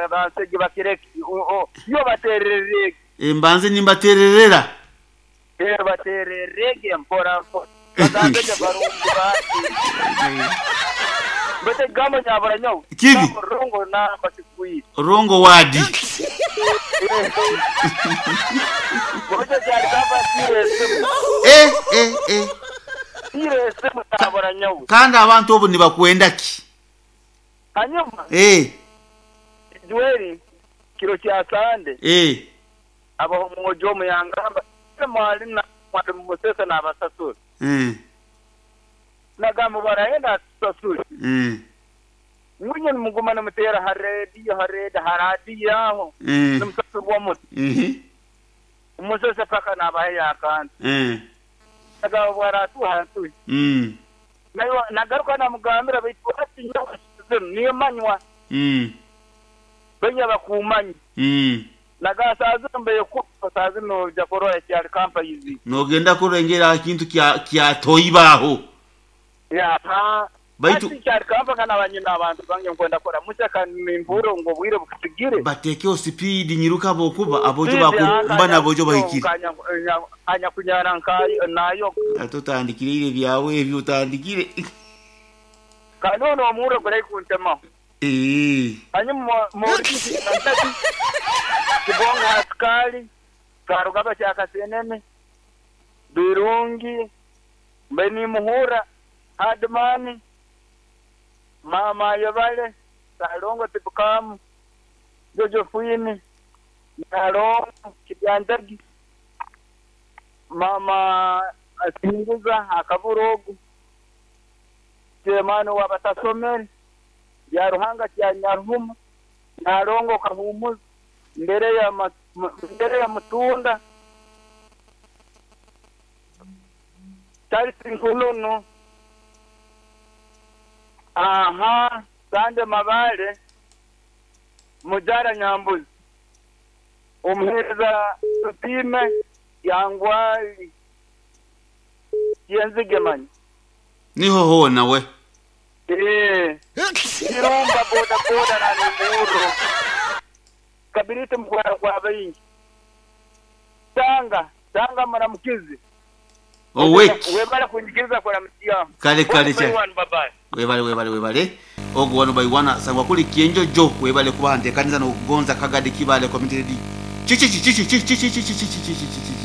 Bansege bakireke. Yo bateererege. Mbanze nimbateererera. Reero bateererege mpora mpora. Bagambe gye barungi bati. Baitu ekigambo nyabura nyowe. Kibi. Ekigambo rongo namba kigwire. Rongo wadi. Bwekyo kyari kamba tiire esimu. Eh, eh, eh. Tiire esimu nyabura nyowe. Kandi abantu obu nibakwenda ki? Hanyuma. Eh. Joeli kiro kya Sande. Eh. Abaho omwojo omu yangamba, Ise mwali na mwali mumusesa nabasasura. Nagamba barahenda atusasure. Ngu inywe nimuguma nimuteera ha rediyo, ha redi, ha radiyo aho, nimusasurwa muta? Mumusese paka nabaheyo akantu. Nagamba obu aratuha atuhe. Nagaruka namugambira baitu hati nyowe zinu nimanywa. Baija bakuumanya. Naga saa zinu mbaire kufa, saa zinu noija kurora ekyali kampaizi. Nogenda kurengera aha kintu kya kya toiba aho. Aha. Baitu. Hati kyali kampaka naba nyine abantu bange nkwenda kuramukya kandi nimpuurra ngu obwire bukusigire. Batekeho sipiidi nyiruka habwokuba aboojo Sipiidi baku aka mba n'aboojo bahikire. Anyakunyara nka nayoga. Ate otandikire ira ebyawe ebyo otandikire. Kandi onu omurro guraihi kuntemaho. Eeh. Hanyuma Maurice Kantati, Kibonge ha Sikaali, Karugaba kya Kasenene, Birungi, mbaire nimuhurra, Hardman, Maama Ayebare, Salongo Tibukamu, Jojo Fwini, Nalongo Kibyanjagi, Maama Asinguza Akabura ogu, Chairman ow'abatasomere, Byaruhanga kya Nyaruhuma, Nalongo Kahumuza, Ndereya Mutunda, Charles Nkununu, aha, Sande Mabale, Mujara Nyambuzi, Omuheereza Tutiime Yangwali Kyenzige manya. Niho hoona we. Eeh Kirumba boda boda na Nimurro Kabiriti mukwara gwa baingi Tanga Tanga muramukizi Owek. Webale kunyikiriza kuramutsya Kale kale One by kyane. one bye bye. Webale webale webale. Ogwo one by one asangwa kuli Kyenjojo webale kuba ntekaniza nokugonza Kagadi Kibaale Community Radio. Kiki kiki kiki kiki kiki kiki kiki kiki.